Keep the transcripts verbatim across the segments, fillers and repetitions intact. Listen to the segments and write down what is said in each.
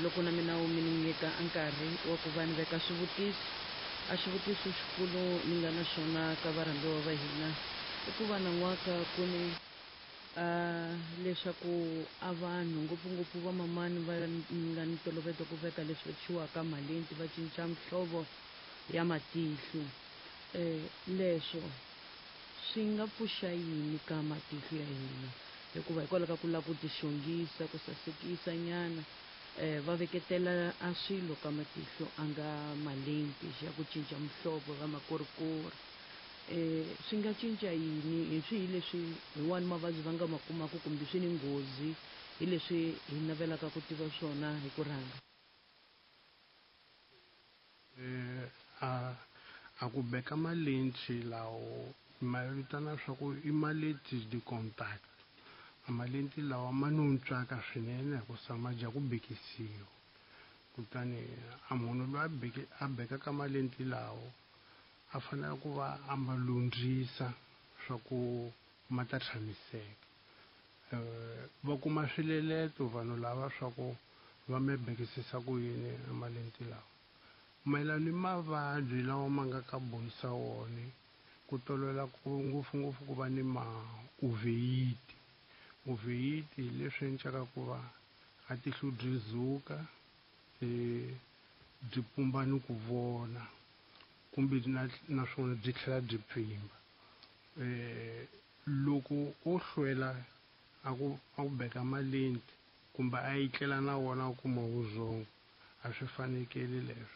Loko na mina mi ni nyika a nkarhi wa ku va ni veka swivutiso, a xivutiso xikulu ni nga na xona ka varhambiwa va hina i ku va nan'waka ku ni uh, leswaku a vanhu ngopfungopfu vamamani va nga ni ntolovelo ku veka leswi thyiwaka malenti va cinca mihlovo ya matihlo, um leswo swi nga pfuxa yini ka matihlo ya hina? Hikuva hikwalaho ka ku lava ku tixongisa, ku sasekisa nyana, um va veketela a swilo ka matihlo a nga malenti ya ku cinca muhlovo ya makorikori, um swi nga cinca yini? Hi swihi leswi hi wani mavabyi va nga ma kumaka kumbe swi ni nghozi? Hi leswi hi navelaka ku tiva swona hi ku rhanga. Eh, a a ku beka malenti lawo ma vitana swa ku i malenti de contact. A malenti lawa ma no ntswaka swinene hikusa ma dya ku bekisiwa, kutani a munhu loyi a beke a bekaka malenti lawo a fanele ku va a ma lundzisa swa ku ma ta tshamiseka. um va kuma swileleto vanhu lava swa ku va me bekisisa ku yini a malenti lawa. Mayelana ni mavabyi lawa ma nga ka bohisa wona, ku tolovela ku ngopfungopfu ku va ni ma uveyiti. Uveyiti hi leswi endlaka ku va a tihlo byi zuka, um byi pumba ni ku vona, kumbe na naswona byi tlhela byi pfimba. um Loko o hlwela a ku a ku beka malenti kumbe a etlela na wona a kuma vurhongo, a swi fanekeli leswo.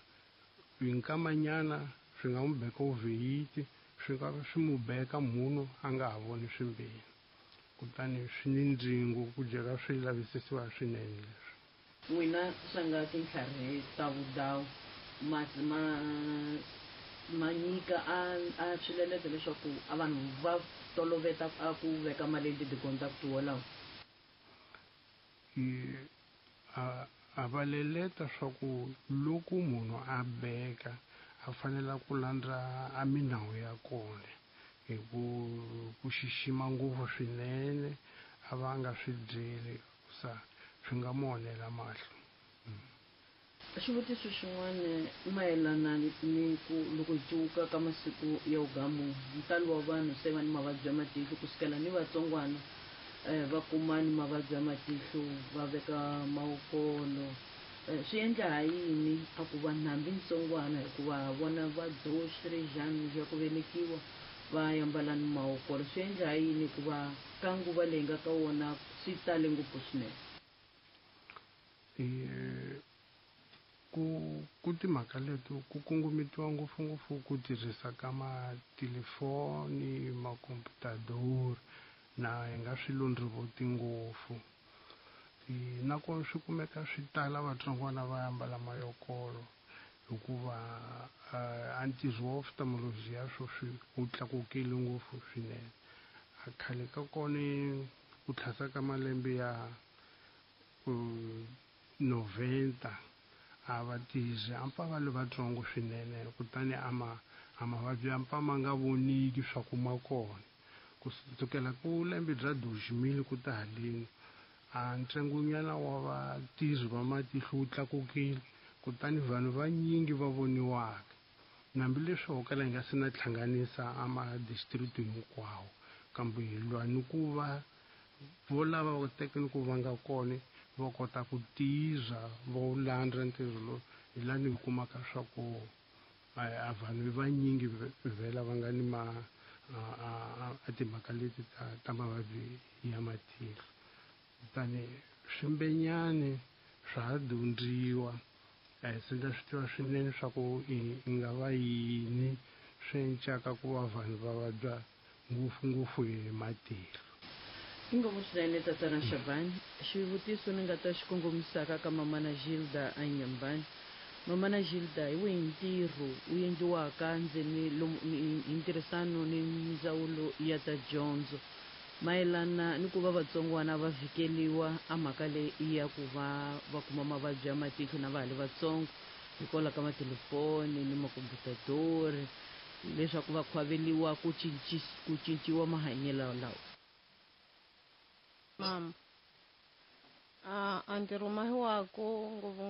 Hi nkamanyana swi nga n'wi beka uveyiti, swi nga swi mu beka munhu a nga ha voni swimbirhi, kutani swi ni ndzingo ku dyeka swi lavisisiwa swinene leswi. N'wina swa nga tintlharhi ta vudawu ma ma ma nyika a a swileleto leswaku a vanhu va toloveta a ku veka malenti ti-contact wolawo? I a a va leleta swa ku loko munhu a beka a fanela ku landza a minawu ya kona hi ku ku xixima ngopfu swinene, a va a nga swi dyeli sa swi nga mu onhela mahlo. Xivutiso xin'wana i mayelana ni ku loko hi cuka ka masiku ya wugamu, ntalo wa vanhu se va ni mavabyi ya matihlo, kusukela ni vatsongwana um va kuma ni mavabyi ya matihlo, va veka mawukolo. um Swi endla ha yini a ku vanhu hambi ntsongwana, hikuva vona va doxirejani ya ku velekiwa va yambala ni mawukolo, swi endla ha yini hikuva ka nguva leyi nga ka wona swi tale ngopfu swinene? E ku ku timhaka leto ku kongometiwa ngopfungopfu ku tirhisa ka matelefoni, makomputador, na hi nga swi londrovoti ngopfu. Nakona swi kumeka swi tala vatsongwana va ambala mayokolo hikuva a ntirho wa ophthalmology ya sweswi wu tlakukile ngopfu swinene. A khale ka kona ku tlhasa ka malembe ya noventa a va tirhi a pfa va le vatsongo swinene, kutani a ma a mavabyi ya pfa ma nga voniki swa ku ma kona. Ku sukela ku lembe bya deux ku ta haleni, a ntsengonyana wa vatirhi va matihlo wu tlakukile, kutani vanhu vanyingi va voniwaka, hambileswi ho kala hi nga se na hlanganisa a ma-district hinkwawo, kambe hi lwa ni ku va vo lava va teka ni ku va nga kona va kota ku tirha va wu landza ntirho lowu. Hi lani hi kumaka swa ku a vanhu vanyingi vhela va nga ni ma a timhaka leti ta ta mavabyi ya matihlo. Kutani swimbenyani swa ha dyondziwa, a hi se na swi tiva swinene swa ku i nga va yini swi encaka ku va vanhu va vabya ngopfungopfu hi matihlo. Inkomu swinene tatana Shabani. Xivutiso ni nga ta xi kongomisaka ka mamana Gilda Anyambani. Mamana Gilda, hi wihi ntirho wu endliwaka ndzeni lomu hi ntirhisano ni ndzawulo ya ta dyondzo mayelana ni ku va vatsongwana va vhikeliwa a mhaka leyi ya ku va va kuma mavabyi ya matihlo na va ha li vatsongo hikwalaho ka matelefoni ni makomputadori, leswaku va khwaveliwa ku ku cinciwa mahanyelo lawa? Mama, a a ntirho mahiwaku ngopfu.